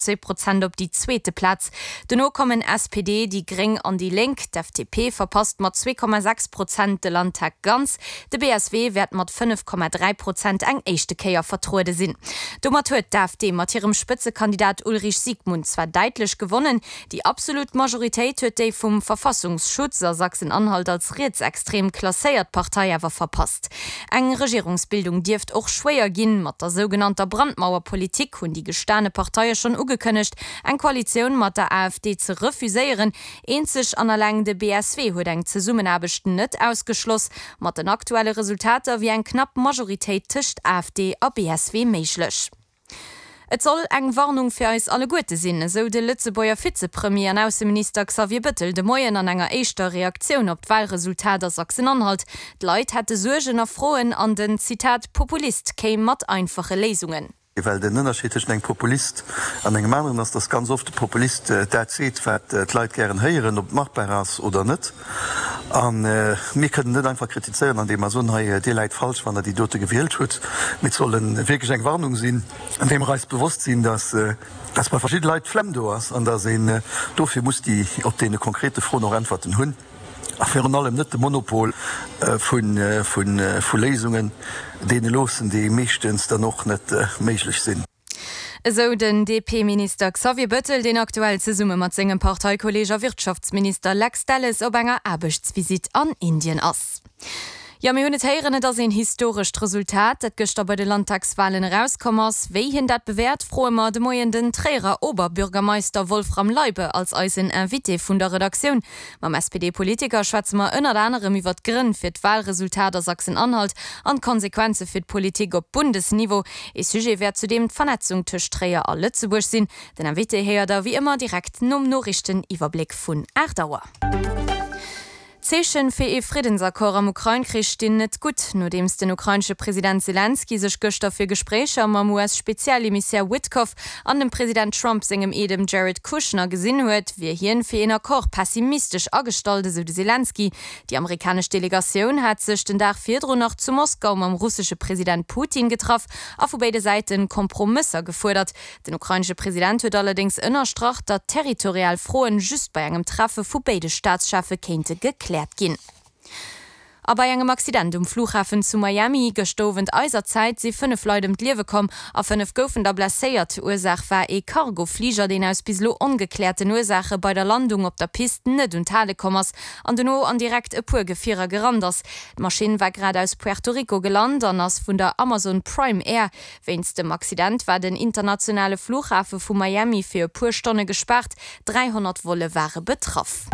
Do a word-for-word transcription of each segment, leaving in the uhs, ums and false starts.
Zwee Prozent op déi zweete Plaz. Dono kommen S P D, déi Gréng an déi Lénk. D'F D P verpasst mat zwee Komma sechs Prozent de Landtag ganz. De B S W wäert mat fënnef Komma dräi Prozent eng éischte Kéier vertruede sinn. Domat huet d'A F D mat hirem Spëtzekandidat Ulrich Siegmund zwar däitlech gewonnen, déi absolut Majoritéit huet déi vum Verfassungsschutz a Sachsen-Anhalt als rietsextrem klasséiert Partei awer verpasst. Eng Regierungsbildung dierft och schwéier ginn. Mat der sougenannter Brandmauerpolitik hunn déi gestane Parteie schonn ugekënnegt, eng Koalitioun mat der A F D ze refuséieren. Eenzeg an eleng de B S W huet eng Zesummenaarbecht net ausgeschloss. Mat den aktuelle Resultater wier eng knapp Majoritéit tëscht A F D a B S W méiglech. Et soll eng Warnung fir eis alleguerte sinn, esou de Lëtzebuerger Vizepremier an Ausseminister Xavier Bettel de Moien an enger éischter Reaktioun op d'Walresultat a Sachsen-Anhalt. D'Leit hätte Suergen a Froen an den, Zitat, Populist kéim mat einfache Léisungen. Well den Ënnerscheed tëschent engem Populist an engem aneren ass, dass ganz oft de Populist dat seet, wat d'Leit gären héieren, ob et machbar ass oder net. A mir kënnen net einfach kritizéieren, andeem mer soen, hei, Dir läit falsch, wann Der déi dote gewielt hutt. Mee et soll wierklech eng Warnung sinn, andeem mer eis bewosst sinn, dass dass bei verschidde Leit d'Flemm do ass an dass een dofir muss déi op deene konkrete Froen och Äntwerten hunn a virun allem net de Monopol vu Léisungen deene loossen, déi meeschtens dann och net méiglech sinn. Esou den D P-Minister Xavier Bettel, deen aktuell zesumme mat sengem Parteikolleeg a Wirtschaftsminister Lex Delles op enger Aarbechtsvisitt an Indien ass. Jo, mir hunn et héieren, et ass een historescht Resultat, dat gëschter bei de Landtagswalen erauskomm ass. Wéi hien dat bewäert, froe mer de Moien den Tréierer Oberbürgermeister Wolfram Leibe als eisen Invité vun der Redaktioun. Mam S P D-Politiker schwätze mer ënnert anerem iwwer d'Grënn fir d'Walresultat a Sachsen-Anhalt an d'Konsequenze fir d'Politik op Bundesniveau. Ee Sujet wäert zudeem d'Vernetzung tëscht Tréier a Lëtzebuerg sinn. Den Invité héiert der wéi ëmmer direkt nom Noriichteniwwerbléck vun aacht Auer. D'Zeeche fir ee Friddensaccord am Ukrain-Krich stinn net gutt. Nodeems den ukrainesche President Selenskyj sech gëschter fir Gespréicher mam U S-Spezialemissär Witkoff an dem President Trump sengem Eedem Jared Kushner gesinn huet, wier hien fir een Accord pessimistesch agestallt, esou de Selenskyj. Déi amerikanesch Delegatioun hat sech den Dag virdrun nach zu Moskau mam russesche President Putin getraff a vu béide Säite Kompromësser gefuerdert. Den ukrainesche President huet allerdéngs ënnerstrach, datt territorial Froen just bei engem Treffe vu béide Staatscheffe kéinte gekläert ginn. A bei engem Accident um Flughafen zu Miami gëschter Owend eiser Zäit si fënnef Leit ëm d'Liewe komm a fënnef goufen der blesséiert. Ursaach war ee Cargofliger, deen aus bis elo ongekläerten Ursaache bei der Landung op der Pist net un d'Hale komm ass an dono an direkt e puer Gefierer gerannt ass. D'Maschinn war grad aus Puerto Rico gelant an ass vun der Amazon Prime Air. Wéinst dem Accident war den internationale Flughafe vu Miami fir e puer Stonne gespaart, dräihonnert Volle ware betraff.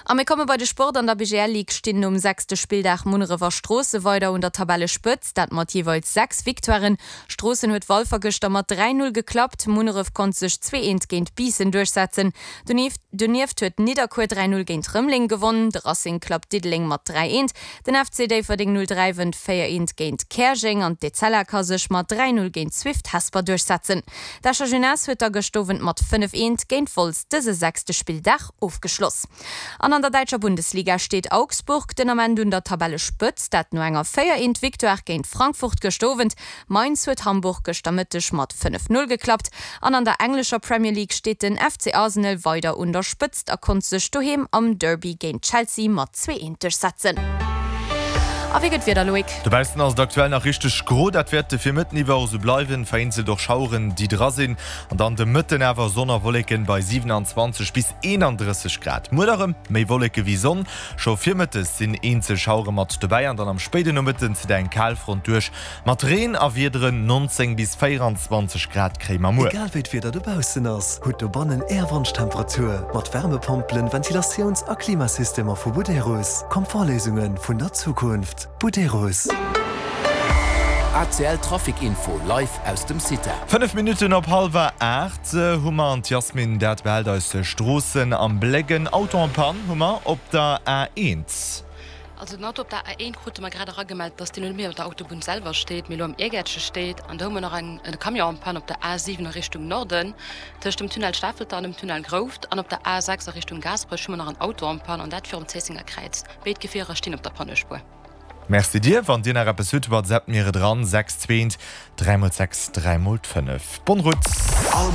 A mir komme bei de Sport. An der B G L Ligue stinn nom sechste Spilldag Munneref a Stroossen weider un der Tabellespëtzt, dat mat jeeweils sechs Victoiren. Stroossen huet Walfer gëschter mat dräi Null geklappt, Munneref konnt sech zwee eent géint Biissen duerchsetzen. Donieft huet Nidderkuer dräi Null géint Rëmeleng gewonnen, de Racing klappt Diddeleng mat dräi eent, den F C Déifferdeng null dräi wënnt véier eent géint Käerjeng an d'Etzella ka sech mat dräi Null géint Swift Hesper duerchsetzen. D'Escher Jeunesse huet da gëscht Owend mat fënnef eent géint Wolz dëse sechste Spilldag ofgeschloss. An an der däitscher Bundesliga steet Augsburg den Ament un der Tabellespëtzt, dat no enger véier eent Victoire géint Frankfurt gëscht Owend. Mainz huet Hamburg gëschter Mëtteg mat fënnef Null geklappt. An an der englescher Premier League steet den F C Arsenal weider un der Spëtzt a konnt sech doheem am Derby géint Chelsea mat zwee eent duerchsetzen. A wéi gëtt d'Wieder, Loïc? Dobaussen ass et aktuell nach richteg gro, dat wäert de Virmëtten iwwer och esou bleiwen, vereenzelt och Schaueren déi dra sinn, an dann de Mëtten awer Sonn a Wolleken bei siwenanzwanzeg bis eenandrësseg Grad. Muer da rëm méi Wolleke wéi Sonn, scho virmëttes sinn eenzel Schauere mat dobäi an dann am spéiden Nomëtten zitt eng Kalfront duerch mat Reen a Wiederen. Nonzéng bis véieranzwanzeg Grad kréie mer muer. Egal wéi d'Wieder dobaussen ass, hutt dobannen Är Wonschtemperatur mat Wärmepompelen, Ventilatiouns a Klimasystemer vu Buderus. Komfortléisunge vun der Zukunft. Buderus. A C L Trafic Info live aus dem CITA. Fënnef Minutten op hallwer aacht hu mer an d'Yasmin dat behält eis Stroossen am Bléck. En Auto en panne hu mer op der A eent. Also den Auto op der A eent krute mer grad eragemellt, dass deen elo net méi op der Autobunn selwer steet, mee elo am Iergäertche steet. An do hu mer nach eng e Camion en panne op der A siwen a Richtung Norden, tëscht dem Tunnel Stafelter an dem Tunnel Grouft. An op der A sechs a Richtung Gaasperech hu mer nach en Auto en panne, an dat virum Zéissenger Kräiz. Béid Gefierer stinn op der Pannespuer. Merci dir. Wann dir nach eppes hutt, WhatsAppt mir et eran, sechs zwee eent dräi mol sechs dräi mol fënnef. Bonne route! All